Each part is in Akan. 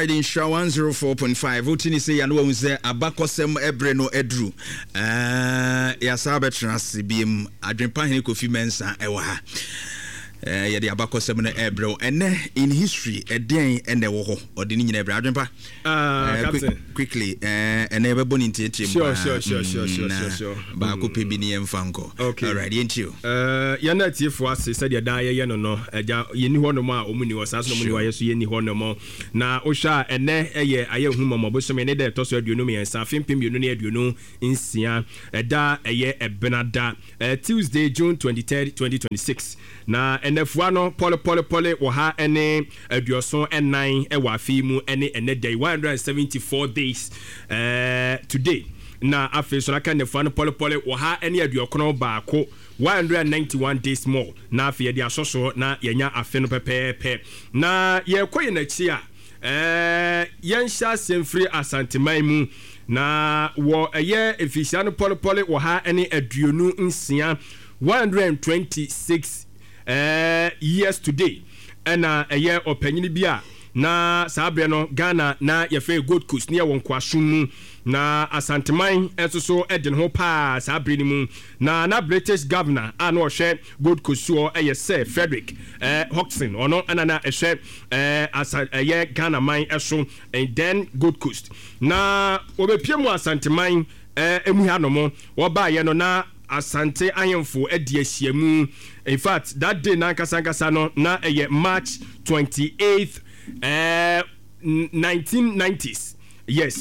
Alright, Nhyira 104.5. Wote ne sɛ yɛano wahu sɛ abakɔsɛm ɛberɛ no aduru. Yɛasa bɛtena ase biem. Adwempa hene Kofi Mensah ɛwɔ ha. Yɛde abakɔsɛm no ɛbrɛ wo. Ɛnɛ in history ɛdeɛn ɛna ɛwɔ hɔ? Ɔde ne nyina ɛbrɛ. Adwempa. Captain. Quickly, ɛnɛ yɛbɛbɔ ne ntiatia mu Sure, paa. sure, sure, sure, sure, Na sure, sure. baako pɛ bi ne yɛmfa nkɔ. Okay. Alright, yɛntie o. Yɛn atiefoɔ ase sɛdeɛ daa yɛyɛ no no, agya, yɛnni hɔnom a wɔn nni hɔ, saa nso na wɔn nni hɔ a yɛn nso yɛnni hɔnom. Na wohwɛ a, ɛnnɛ yɛ Ayɛnhumɔmɔ bosome ne da a ɛtɔ so 23, afe 2026, ɛda a ɛyɛ Ɛbenada, Tuesday, June 23rd, 2026. Na nnafua no pɔlepɔlepɔle 174 wɔ afe yi mu ne ɛnnɛ da yi, 174 days today. Na afei nso aka nnafua no pɔlepɔle 191, 191 days more. Na afei yɛde asɔ so na yɛanya afe no pɛpɛɛpɛ. Na yɛrekɔ yɛn akyi a, yɛnhyɛ aseɛ mfiri Asanteman mu. Na wɔ ɛyɛ mfirihyia no pɔlepɔle 126, 126 years today, ɛna ɛyɛ ɔpanyini bi a na saa berɛ no Ghana na yɛfrɛ Gold Coast ne yɛwɔ nkoasom mu, na Asanteman nso so de ne ho paa saa berɛ no mu. Na na British governor a na ɔhwɛ Gold Coast soɔ yɛ Sir Frederick Hodgson, ɔno ɛna na ɛhwɛ asa ɛyɛ Ghana man so, then Gold Coast. Na wɔbɛpie mu Asanteman mu ha nom, wɔbaeɛ no na Asante ahemfo adi ahyiamu. In fact, that day no ankasa ankasa no, na ɛyɛ March 28th, 1990s. Yes,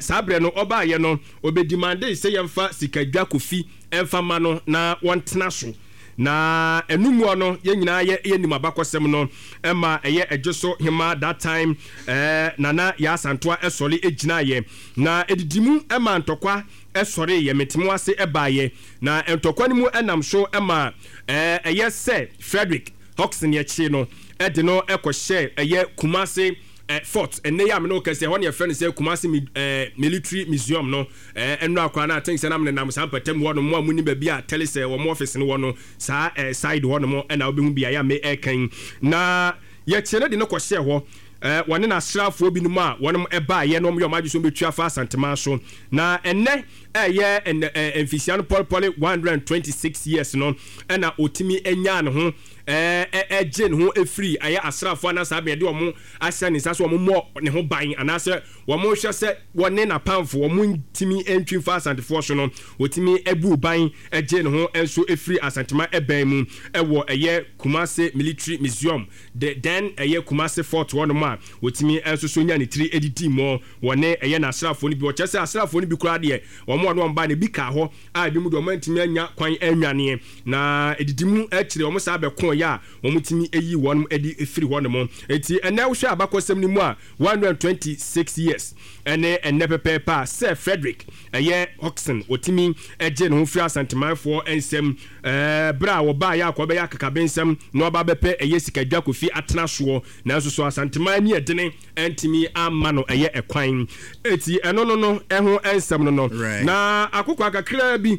saa berɛ no ɔbaeɛ no, ɔbɛdimandee sɛ yɛmfa sikadwa Kofi mfa ma no na wɔntena so. Na ɛno mua no, yɛn nyinaa yɛ yɛnim abakɔsɛm no, ɛma ɛyɛ Ɛgyeso Hemaa that time, Nana Yaa Asantewaa sɔre gyinaeɛ. Na ɛdidi mu ma ntɔkwa sɔreeɛ, mete mo ase baeɛ, na ntɔkwa no mu nam so ma ɛyɛ sɛ Frederick Hodgson yɛkyee no de no kɔhyɛɛ ɛyɛ Kumasi Fort, ɛnnɛ yi a me ne wo kasa yi, ɛhɔ na yɛfrɛ no sɛ Kumasi Military Museum no, ɛnnora koraa no I think sɛ na menenam saa mpɔtam hɔ nom, mo a monim baabi a Telecel wɔn office no wɔ no, saa side hɔ nom na wobɛhu beaeɛ a mereka yi, na yɛkyee no de no kɔhyɛɛ hɔ. Wɔne n'asraafoɔ binom a wɔnom baeɛ na wɔyɛ wɔn adwene sɛ wɔbɛtu afa Asanteman so. Na ɛnnɛ ɛyɛ ɛnɛ mfirihyia no pɔlepɔle 126 years no ɛna ɔtumi nyaa ne ho ɛgye ne ho ɛfiri ɛyɛ asraafoɔ anaa saa bɛn yɛde wɔn ahyɛ ne nsa sɛ wɔn mmɔ ne ho ban anaasɛ wɔn hwɛ sɛ wɔne n'apamfo wɔn ntumi ntwi mfa Asantefoɔ so no, ɔtumi buu ban gyee ne ho nso ɛfiri Asanteman ɛbɛn mu ɛwɔ ɛyɛ Kumasi Military Museum. De dɛn ɛyɛ Kumasi Fort hɔ nom a wɔtumi nso so nya ne tiri didi mɔ wɔ ne ɛyɛ n'asraafoɔ no bi hɔ. Kyerɛ sɛ asraafoɔ no bi koraa deɛ wɔn a wɔne wɔn baeɛ no ebi kaa hɔ a ebinom deɛ wɔn antumi anya kwan annwaneɛ. Na ɛdidi mu akyire wɔn saa bɛkoeɛ a wɔtumi yii wɔn de firi hɔ nom. Enti ɛnnɛ wohwɛ abakɔsɛm no mu a 126 years ɛne ɛnnɛ pɛpɛɛpɛ a Sir Frederick ɛyɛ Hodgson wɔtumi gyee ne ho firi Asantemanfoɔ nsam Berɛ a wɔbaeɛ a kɔbɛyɛ akakabensɛm na wɔaba abɛpɛ ɛyɛ sikadwa Kofi atena soɔ, nanso so Asanteman ani ɛdene antumi amma no ɛyɛ ɛkwan. Enti ɛno no no ɛho nsɛm no no. Na akokoa kakraa bi,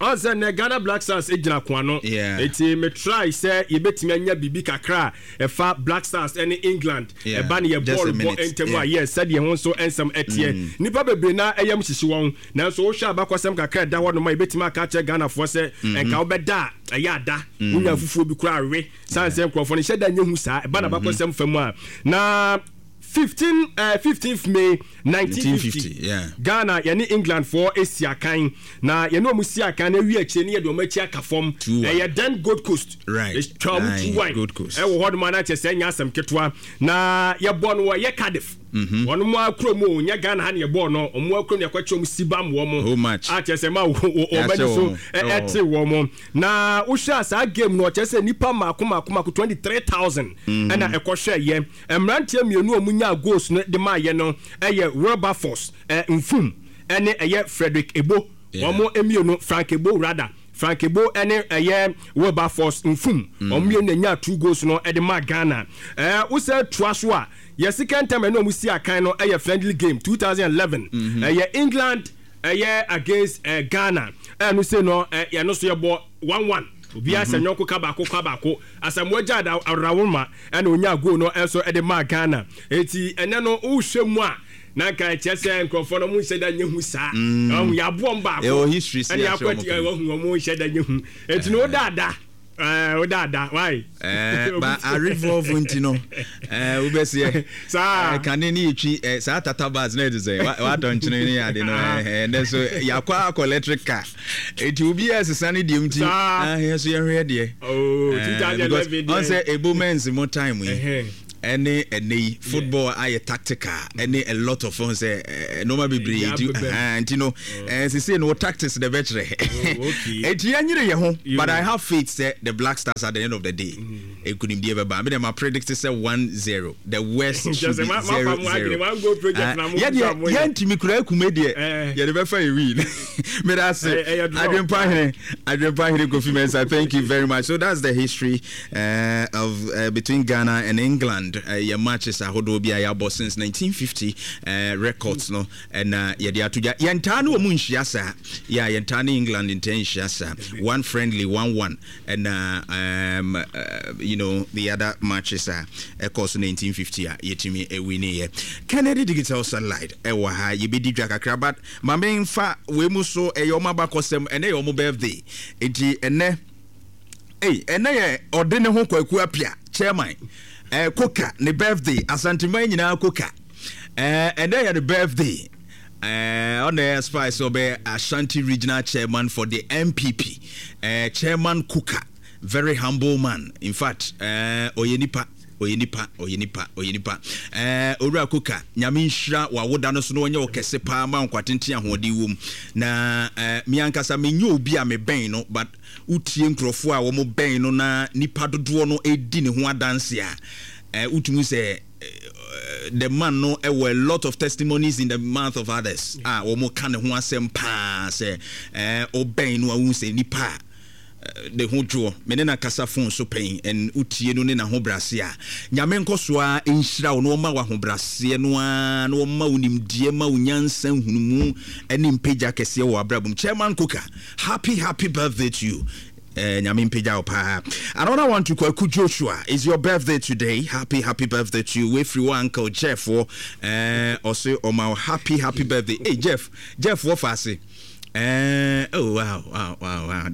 ɔn sɛ nnɛ Ghana Black Stars gyina ko ano, enti me try sɛ yɛbɛtumi anya biribi kakra a ɛfa Black Stars ne England ɛba ne yɛ bɔɔl bɔ ntam a, yes, sɛdeɛ ɛho nso nsɛm ɛteɛ. Nnipa bebree no ara yam hyehye wɔn. Nanso wohwɛ abakɔsɛm kakra a ɛda hɔ nom a, yɛbɛtumi aka akyerɛ Ghanafoɔ sɛ nka wobɛda a, ɛyɛ ada. Wonya afufuo bi koraa we. Sane sɛ nkurɔfoɔ no nhyɛ da nyɛ hu saa. Ɛba n'abakɔsɛm fa mu a, na 15, eh, 15th May 1950, Ghana yɛne Englandfoɔ si akan. Na yɛne wɔn si akan na awie akyire ne yɛde wɔn akyi aka fam. Ɛyɛ then Gold Coast. Twa wɔn 2-1 ɛwɔ hɔ nom a na kyerɛ sɛ ɛnyɛ asɛm ketewa. Na yɛbɔ no wɔ ɛyɛ Cardiff. Wɔn mo ara kurom o, nyɛ Ghana ha na yɛbɔɔ no, wɔn ara kurom na yɛkɔkyɛ wɔn sibam wɔn. Whole match. A kyerɛ sɛ ma wɔn ani so ɛte wɔn. Na wohwɛ a saa game no ɔkyerɛ sɛ nipa mako mako mako 23,000 ɛna ɛkɔhwɛ yɛ. Mmeranteɛ mmienu a wɔn nyaa goals no de maa yɛ no ɛyɛ Wilberforce Mfum ɛne ɛyɛ Frederick Ebo. Wɔn mmienu, Frank Ebo rather. Frank Ebo ne ɛyɛ Wilberforce Mfum, wɔn mmienu na nyaa two goals no de maa Ghana. Ɛɛ wosɛ toa so a, yɛ second time ɛne wɔn si akan no ɛyɛ friendly game 2011. Ɛyɛ England ɛyɛ against Ghana. Ɛno sei no ɛno so yɛbɔ 1-1. Obiara sɛ nyɔnko ka baako ka baako. Asamoah Gyan Arawoma ɛna onyaa goal no nso de maa Ghana. Enti ɛnɛ no wohwɛ mu a na nka ɛkyerɛ sɛ nkurɔfoɔ no wɔn nhyɛ da nyɛ hu saa. Ɔhu yɛaboɔ wɔn baako Ɛwɔ history si ɛna akyerɛ yɛakɔ wɔn ati pɛn. ɔhu wɔn nhyɛ da nyɛ hu. Enti no wodaada ɛɛ wodaada why? Eh, ba arevolve nti no eh, wobɛseɛ Saa. eh, kane ne yɛtwi eh, saa tata bus na ɛte sɛ watɔ nkyene ne ade no eh, ɛnɛ so yɛakɔ akɔ electric car ɛti obiaa sesa ne deɛ nti Saa. ah, yɛ so yɛhwɛ deɛ Oh, Eh, 2011 because deɛ. ɔn sɛ ebo men's mo time yi Ɛhɛn. ɛne ɛnɛ yi football ayɛ tactical ɛne a lot of fun sɛ nneɛma bebree Ɛdi nti abɛbɛm. ɛhɛn, nti no sese no wo tactics na ɛbɛkyerɛ Oh, okay. eti yɛnyere yɛn ho Yo. but I have faith sɛ the Black Stars at the end of the day nkunimdie bɛba mi deɛ ma predict sɛ 1-0 the worst Kyerɛ should sɛ be ma- mafa zero mo adwene, zero one goal project na mo yɛ nso a deɛ moyɛ. yɛntumi kura ekume deɛ Eh. yɛde bɛfa yɛ win meda ase Ɛyɛ draw. Adwempa hene Adwempa hene Kofi Mensah thank you very much so that's the history of between Ghana and England yɛ matches ahodoɔ bi a yɛabɔ since 1950 records no ɛna yɛde ato dwa. Yɛntaa ne wɔn nhyia saa. Yeah, yɛntaa ne England ntaa nhyia saa. One friendly, 1-1 ɛna the other matches a ɛkɔɔ so 1950 a yɛtumi ɛwiniiɛ. Kennedy Digital Satellite ɛwɔ ha, yɛbɛdi dwa kakra but ma memfa wei mu so ɛyɛ wɔn abakɔsɛm, ɛnɛ yɛ wɔn birthday nti ɛnɛ Ei, ɛnɛ yɛ ɔde ne ho Kwaku Apia, chairman, eh, Koka, ne birthday, Asanteman nyinaa Koka. Eh, ɛnɛ yɛ ne birthday. Eh, ɔna ɛyɛ aspire sɛ ɔbɛyɛ Ashanti Regional Chairman for the NPP. Eh, chairman Koka, very humble man. In fact, eh, ɔyɛ nipa. Ɔyɛ nipa, ɔyɛ nipa, ɔyɛ nipa. Eh, Owura Koka, Nyame nhyira w'awoda no so na ɔnyɛ wo kɛse paa ma nkwa tenten ahoɔden wom. Na eh, me ankasa menyɛ obi a mebɛn no, but Wotie nkurɔfoɔ a wɔbɛn no na nnipa dodoɔ no redi ne ho adanse a, eh, wotumi hu sɛ eh, the man no wɔ a lot of testimonies in the mouth of others a wɔka ne ho asɛm paa sɛ eh, wobɛn no a wohu sɛ nipa a eh, ne ho dwoɔ. Me ne no akasa phone so pɛn and wotie no ne n'ahobrɛase a, Nyame nkɔ so ara nhyira wo na ɔma wo ahobrɛaseɛ no ara na ɔma wo nimdeɛ ma wo nyansa nhunumu ne mpagya kɛseɛ wɔ w'abrabɔ mu. Chairman Koka, Happy happy birthday to you eh, Nyame mpagya wo paa. Another one to Kwaku Joshua, is your birthday today. Happy happy birthday to you. Wefiri wo uncle Jeff wɔ eh, ɔse ɔma wo happy happy birthday. Hey Jeff, Jeff wɔ faase. Oh wow wow wow wow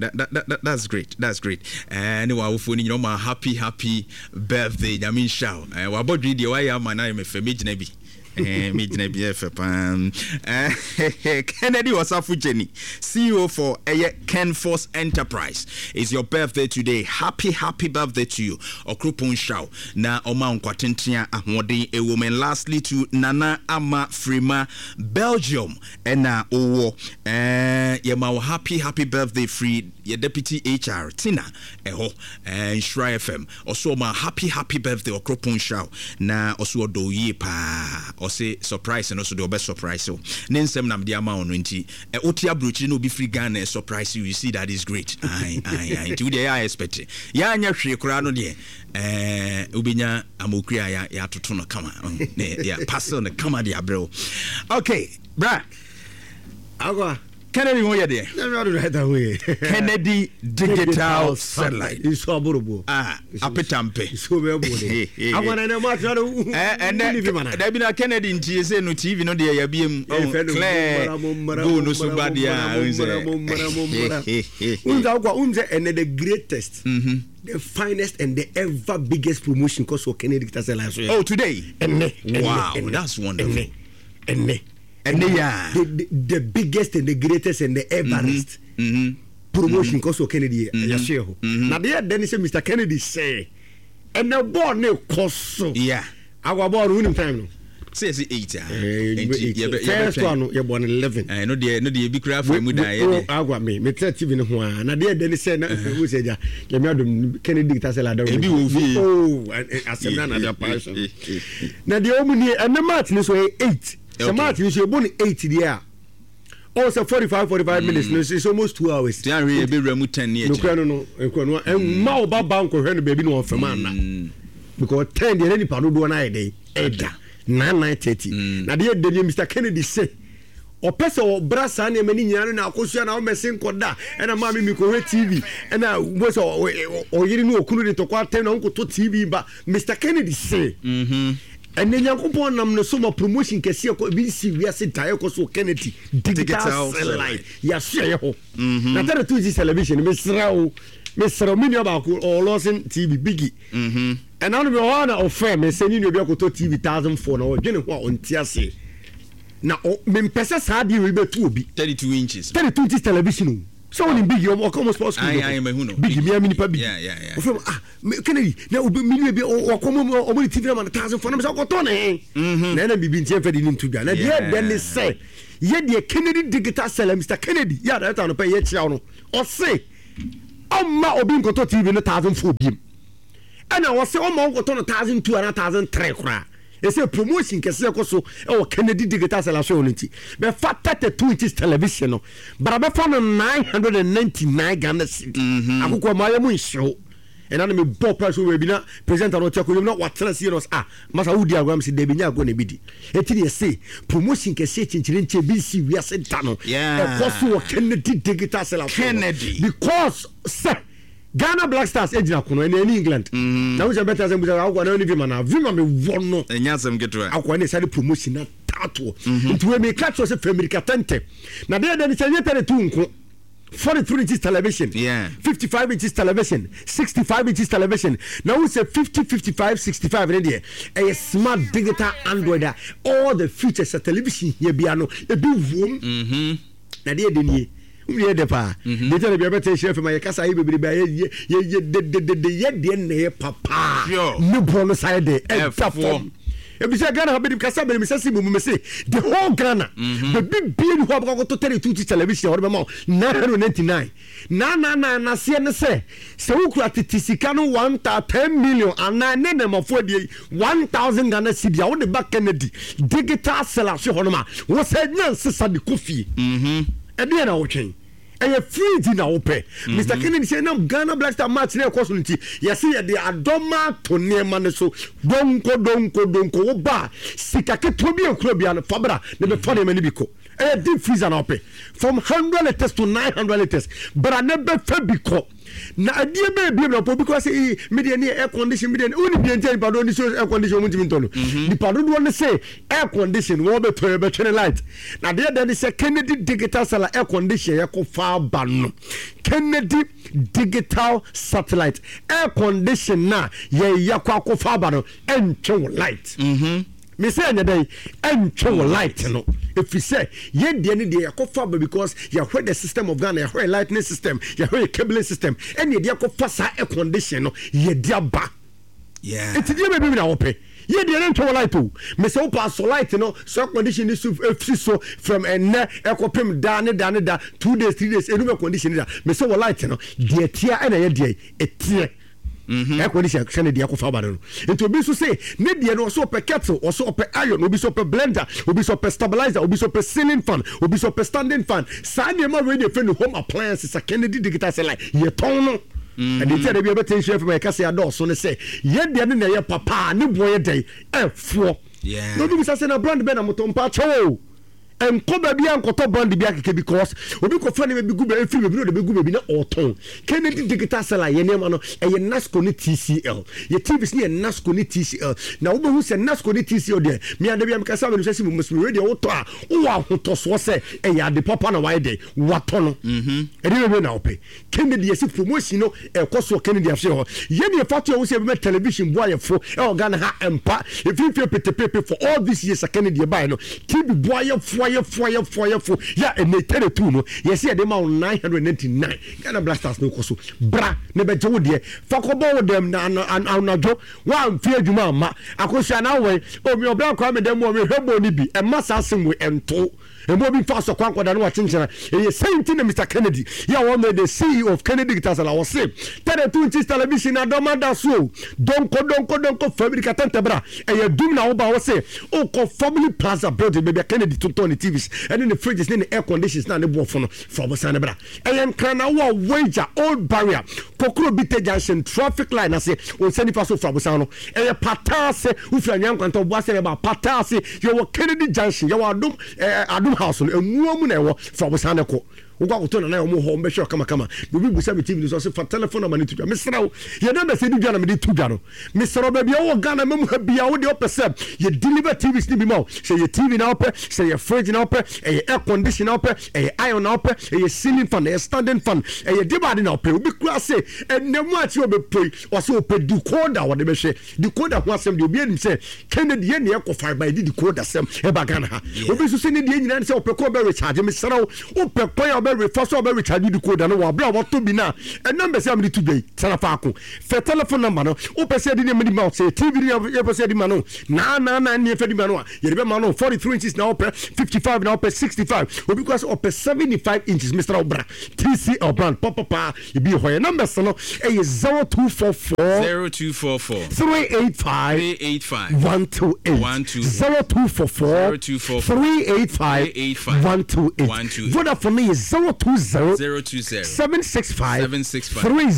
that's great that's great. Ne w'awofoɔ no nyina ɔma happy happy birthday. Nyame nhyira wo. Wabɔ dwen deɛ wayɛ ama no ayɛ me fɛ mɛgyina bi. Eh, me gyina bi ɛfɛ paa. Eh, Kennedy Osafo Jenny, CEO for ɛyɛ Kenforce Enterprise. It's your birthday today. Happy happy birthday to you. Ɔkropɔn nhyira wo na ɔma nkwa tenten a ahoɔden ɛwɔ mu. And lastly to Nana Ama Frima, Belgium ɛna owɔ. Eh, yɛma wo happy happy birthday free yɛ deputy HR Tina ɛhɔ. Eh, Nhyira FM. Ɔse ɔma happy happy birthday ɔkropon nhyira wo na ɔse ɔdɔ wo yie paa ɔse surprise no so deɛ ɔbɛ surprise wo ne nsɛm na mede ama wo no nti ɛ wote abrokyire na obi firi Ghana ɛ surprise you you see that is great ae ae ae nti wo deɛ yɛ a expect yɛ anyɛ hwee koraa no deɛ ɛɛ wobɛnya amokuri a yɛ yɛatoto no kama ne yɛ parcel no kama de abrɛ wo okay bra Agwa. Kennedy ho yɛ deɛ. Nyame adom na ɛda ho yɛ. Kennedy digital satellite. Nsu aborobo. Ah, apetampe. Nsu bɛ bo de. Agwa na ɛnɛ mo atena no. Ɛnɛ dabi na Kennedy nti sɛ no TV no deɛ yɛabie mu. Clear go no so ba deɛ a n sɛ. N sɛ agwa n sɛ ɛnɛ the greatest. The finest and the ever biggest promotion kɔ so Kennedy digital satellite so yɛ. Oh today. Ɛnɛ. Wow, that's wonderful. Ɛnɛ. Ɛnɛ yɛ a. The biggest and the greatest and the everest mm -hmm. promotion kɔ so Kennedy mm -hmm. yɛhyeɛ hɔ. Na deɛ ɛdɛ ne sɛ Mr Kennedy sɛ ɛnɛ bɔɔl ne kɔ so. Yeah. Agwa bɔɔl no wonim time no. Sɛ yɛsɛ 8 a. Nti yɛbɛ first one no yɛbɔ no 11. Ɛno deɛ no deɛ ebi kura afa mu dan yɛ deɛ. Agwa me me tẹ TV no ho a na deɛ ɛdɛ ne sɛ na wo sɛ gya nyame adom Kennedy kita sɛ lada. Ebi wɔ fie. Oh asɛm na na deɛ paa so. Na deɛ ɔmu nie ɛnɛ match no so ɛyɛ 8. Sɛ match no so yɛbɔ no 8 deɛ a ɔwɔ sɛ 45 45 minutes no it's almost 2 hours. Tí a hwɛ yɛ bɛwura mu 10 ne akyire. Nokura no no nokura no ɛmma wo ba ba nkɔhwɛ no baabi na ɔnfɛm anna because 10 deɛ na nipa dodoɔ no ayɛ dɛ ɛda 9 9 30 na deɛ ɛdɛ deɛ Mr Kennedy sɛ. Ɔpɛ sɛ ɔbra saa nneɛma no nyinaa no na akosua na ɔmmɛse nkɔda ɛna maame mi kɔhwɛ TV ɛna wobɛ sɛ ɔyere ne ɔkunu de ntɔkwa atɛm na wonkɔtɔ TV ba. Mister Kennedy se ɛnɛ Nyankopɔn nam ne so ma promotion kɛseɛ kɔ ebi nsi wiase da ɛkɔ so Kennedy digital satellite yɛasoɛyɛ hɔ na tɛde to nsi television mesrɛ wo mesrɛ wo me nua baako ɔwɔ Lawson TV Biggie ɛna no mewɔ hɔ a na ɔfrɛ me sɛ ne nua bi akɔtɔ TV 1004 na ɔdwene ho a ɔnte aseɛ. Na ɔ mempɛ sɛ saa adeɛ wei bɛto obi. 32 inches. 32 inches television o. Sɛ wonim Biggie, ɔmo ɔka ɔmo sports school Aye, aye, mahu no. Biggie, mea me nipa Biggie. Yeah, yeah, yeah. Ɔfrɛ me, ah, me, Kennedy, na obi, me nua bi, ɔkɔ ɔmo ɔmo de TV no ama no 1004, na me sɛ ɔkɔtɔ ne he. Na ɛna biribi nti ɛmfa de ne nto dwa. Na deɛ ɛdɛ ne sɛ, yɛ deɛ Kennedy Digital Seller, Mister Kennedy, yɛ a director no pɛ yɛkyia wo no, ɔse, ɔmma obi nkɔtɔ TV no 1004 biem. Ɛna ɔse ɔmma ɔnkɔtɔ no 1002 anaa 1003 koraa. Ɛsɛ promotion kɛseɛ kɔ so wɔ Kennedy Digital Selection no nti bɛfa 32 inches television no bara bɛfa no 999 Ghana cedi mhm. Akokɔ ma ayɛ mu nhyew ɛna na mebɔ price wɔ baabi na presenter no ɔte akonnwa mu na watena sie no ah masa wodi agorɔ am sɛ dabi nyɛ agorɔ na ebi di eti ne yɛse promotion kɛseɛ kyenkyere nkyɛn bi nsi wiase da no ɛkɔ so wɔ Kennedy Digital Selection Kennedy because sɛ Ghana Black Stars gyina kono ɛne ɛne England. Mm. Na wosɛ bɛtɛ asɛm busa akɔ na ɛne Vima na Vima me wɔ no. Ɛnyɛ asɛm ketewa. Akɔ ɛne sáré promotion na taatoɔ. Mhm. Nti wei mi ka kyerɛ sɛ fɛ mirika tɛntɛ. Na deɛ deɛ ne sɛ ɛnyɛ 32 nko. 43 inches television. Yeah. 55 inches television. 65 inches television. Na wosɛ 50 55 65 ne deɛ ɛyɛ smart digital Android a all the features a television hia bia no ebi wom. Mhm. Na deɛ ɛdɛ nie. Wom yɛ dɛ paa. Deɛ nti na bia bɛtɛ nhyira fam a yɛkasa ayɛ bebrebe a yɛ yɛ yɛ dededede yɛ deɛ na ɛyɛ papaa. Sure. Ne boɔ no sa yɛ dɛ ɛda Ɛfoɔ. fam. Ebisɛ Ghana ha bɛdi kasa bɛdi mesɛ si mu mu se the whole Ghana. Baabi bie ni hɔ a bɛkɔ akɔtɔ 32 inch television a wɔde bɛma wo 999. Na na na naseɛ ne sɛ sɛ wokura tete sika no one ta 10 million anaa ne nɛmafoɔ adie yi 1000 Ghana cedi a wode ba Kennedy digital seller so hɔnom a wɔsɛ nya nsesa de kɔ fie. Ɛdeɛ na wotwɛn ɛyɛ fridge na wopɛ. Mr Kennedy sɛ nam Ghana Black Star match na ɛkɔ so no nti yɛse yɛde adɔma ato nneɛma no so donko donko donko wo ba a sika ketewa bi a ɛkura bia no fa bra na bɛfa nneɛma no bi kɔ. Ɛyɛ deep freezer na wopɛ from 100 litres to 900 litres bra na bɛfa bi kɔ. Na adeɛ bɛɛ biem na wopɛ obi kora sɛ ee me deɛ ne air condition me deɛ ne wone deɛ nti a nipa dodoɔ ne so air condition wɔn ntumi ntɔ no. Nipa dodoɔ ne sɛ air condition wɔn bɛtɔ yɛ bɛtwe ne light. Na adeɛ dɛ ne sɛ Kennedy digital satellite air condition yɛ kɔ fa ba no Kennedy digital satellite air condition na yɛ yɛ kɔ akɔ fa ba no ɛntwe wo light. Me sɛ ɛnyɛ dɛn ɛntwe wo light no ɛfiri sɛ yɛn deɛ ne deɛ yɛkɔfa ba because yɛhwɛ the system of Ghana yɛhwɛ yɛ lightning system yɛhwɛ yɛ cabling system ɛne yɛde akɔfa saa air condition no yɛde aba. Yeah. Nti deɛ bɛbi na wɔpɛ yɛ deɛ ne ntwe wɔ light o me sɛ wopɛ asɔ light no so air condition ne so ɛfiri so from ɛnnɛ ɛkɔpem daa ne da ne da 2 days 3 days ɛnum air condition ne da me sɛ wɔ light no deɛ ɛteɛ ɛna ɛyɛ deɛ ɛteɛ. Air condition sɛ ne deɛ kɔfa aba no no nti obi nso se ne deɛ no ɔsɛ ɔpɛ kettle ɔsɛ ɔpɛ iron obi sɛ ɔpɛ blender obi sɛ ɔpɛ stabilizer obi sɛ ɔpɛ ceiling fan obi sɛ ɔpɛ standing fan saa nneɛma wei na ɛfɛ no home appliances a Kennedy digital satellite yɛtɔn no ɛde nti a da bi ɛbɛtɛ nhyira fam a yɛka sɛ adɔɔso ne sɛ yɛ deɛ no na ɛyɛ papa a ne boɔ yɛ dɛn ɛfoɔ. Yeah. Na obi bisa sɛ na brand bɛn na motɔ mpa kyɛw o Nkɔ baabi a nkɔtɔ brand bi akeke because obi kɔfa nneɛma bi gu baabi efiri baabi na ɔde bɛgu baabi na ɔretɔn. Kennedy Digital Seller yɛ nneɛma no ɛyɛ Nasco ne TCL. Yɛ TVs no yɛ Nasco ne TCL. Na wobɛhu sɛ Nasco ne TCL deɛ me ada bi a meka sɛ abɛnim sɛ si mu mɛsɛ wei deɛ wotɔ a wowɔ ahotɔsoɔ sɛ ɛyɛ ade papa na wayɛ dɛ watɔ no. Ɛdeɛ bɛbɛ na wopɛ. Kennedy yɛsi promotion no ɛkɔ so wɔ Kennedy asoɛ hɔ. Yɛ deɛ fa to ɛho sɛ yɛbɛma television boa yɛ fo ɛwɔ Ghana ha ɛmpa. Mfimfini petepepe for all these years a Kennedy ɛbaeɛ no TV boa yɛ fo ayɛ fo ayɛ fo ayɛ fo yɛ a ɛnɛ 32 no yɛsi yɛde ma wo 999 Ghana Black Stars no kɔ so bra na bɛgye wo deɛ fa kɔbɔ wo dɛm na anadwo woamfi adwuma amma akosua na wowɛn omi ɔbra kwame dɛm mu ɔmehwɛ bɔ no bi ɛma saa asɛm wei ɛnto Mmoa bi mfa asɔkwa nkɔda ne wakyenkyena. Ɛyɛ sei nti na Mister Kennedy yi a wɔn the CEO of Kennedy Guitars la ɔse 32 inches television na dɔm ada so o. Donko donko donko fa mirika tɛntɛ bra. Ɛyɛ dum na woba ɔse wokɔ Family Plaza building baabi a Kennedy tontɔn ne TVs ɛne ne fridges ne ne air conditions na ne boɔfo no fa ɔbosan no bra. Ɛyɛ nkran na wo a Weija Old Barrier Kokoro Bite Junction traffic line ase wo nsa nifa so fa abosan no. Ɛyɛ Pata ase wofiri Anwea Nkwanta Obuasi na ɛba Pata ase yɛwɔ Kennedy Junction yɛwɔ Adom eh, Adom House no ɛmua mu na ɛwɔ fa abosan no kɔ. Wokɔ akɔtɔ nana wɔn hɔ wɔn bɛhwɛ kamakama. Na obi busa me TV no so ɔse fa telephone number no to dwa. Mesrɛ wo yɛ numbers yɛde dwa na mede to dwa no. Mesrɛ wo baabi a wowɔ Ghana ma mu ha bia wo deɛ wopɛ sɛ yɛ deliver TVs no bi ma wo. Sɛ yɛ TV na wopɛ, sɛ yɛ fridge na wopɛ, ɛyɛ air condition na wopɛ, ɛyɛ iron na wopɛ, ɛyɛ ceiling fan, ɛyɛ standing fan, ɛyɛ deɛ ade na wopɛ. Obi kura se ɛnɛ mu akyi ɔbɛpoi ɔse ɔpɛ decoder wɔde bɛhwɛ. Decoder ho asɛm deɛ obiara nim sɛ Kennedy yɛ nea ɛkɔ fae ba yɛde decoder sɛm ɛba Ghana ha. Obi nso sɛ ne deɛ nyinaa ne sɛ ɔpɛ kwan ɔbɛ recharge. Mesrɛ wo, wopɛ kwan a ɔbɛ refa so a ɔbɛ recharge decoder no wɔ abere a watɔ bi no a, ɛnam bɛsɛ a mede to dwa yi, tena faako. Fɛ telephone number no, wopɛ sɛ yɛde nneɛma di ma wo, sɛ yɛ TV ne yɛpɛ sɛ yɛde ma no, naa naa naa ne yɛfɛ di ma no a, yɛde bɛma no 43 inches na wopɛ, 55 na wopɛ, 65, obi kora sɛ ɔpɛ 75 inches, mesrɛ wo bra TCL brand papapaa. Ebi wɔ hɔ yɛ numbers no ɛyɛ 0244 0244 385 385 128 128 0244 0244 385 385 128 128 Vodafone no yɛ 020 020 765 765 30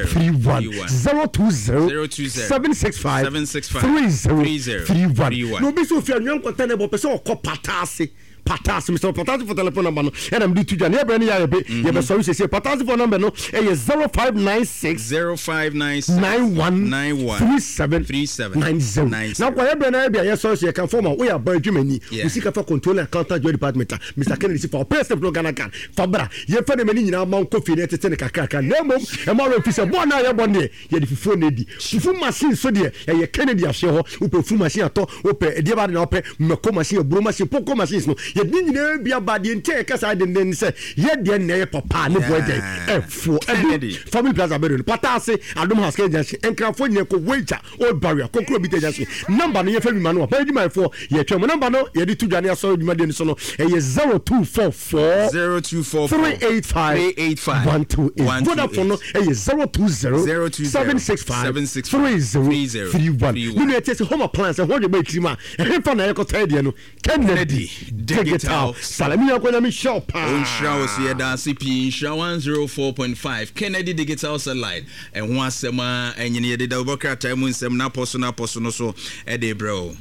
31 020 020 765 765 30 31 31. Na obi sɛ ofi anwea nkɔtɛ na ɛbɔ pɛ sɛ ɔkɔ pataase Pataase mesrɛ wo Pataase fo telephone number no ɛna mede to dwa ne yɛbrɛ ne yɛ ayɛ be yɛbɛsɔre siesie Pataase fo number no ɛyɛ 0596 0596 91 91 37 37 90 90. na kɔ yɛbrɛ no ayɛ bi a yɛsɔre so yɛka fɔm a woyɛ aba adwumani Yeah. wo sika fa controller accountant joint department a Mr Kennedy si fa ɔpɛ sɛ no Ghana card fa bra yɛmfa ne ma ne nyinaa ma nkɔ fie na ɛtete ne kakrakra na mmom ɛma werɛ mfi sɛ bɔɔl no a yɛbɔ no deɛ Yɛde fufuo na edi. Fufu machine nso deɛ, ɛyɛ Kennedy ahyeɛ hɔ. Wopɛ fufu machine atɔ, wopɛ ɛdeɛ ba ade na wopɛ, mako machine, aburo machine, poko machines no, yɛde ne nyinaa bi aba. Deɛ nti a yɛka saa denden ne sɛ, yɛ deɛ na ɛyɛ papa a ne boɔ dɛn? Ɛfoɔ. Kennedy. Ɛdu Family Plaza bɛduru no, Pata ase, Adom House, Kennedy Junction, Nkrafoɔ nyinaa kɔ Weija, Old Barrier, Kokoro Bita Junction. Number no yɛfa bi ma no a, bɛyɛ adwumayɛfoɔ, yɛtwɛn mo. Number no yɛde to dwa ne asɔre dwumadie no so no, ɛyɛ 0244. 0244 385 385 128. 128. Vodafone no ɛyɛ 020 020 765 765 3031. 31. Ne nua ɛte sɛ home appliance ɛho adwuma ɛtiri mu a ɛhefa na yɛkɔtɔ ɛdeɛ no Kennedy Digital Salami yɛnkɔ nyame nhyira wo paa. Ɔnhyira wo so yɛda ase pii nhyira 104.5 Kennedy Digital Satellite ɛho asɛm a ɛnyini yɛde dawubɔ krataa mu nsɛm n'apɔ so n'apɔ so no so ɛde brɛ wo.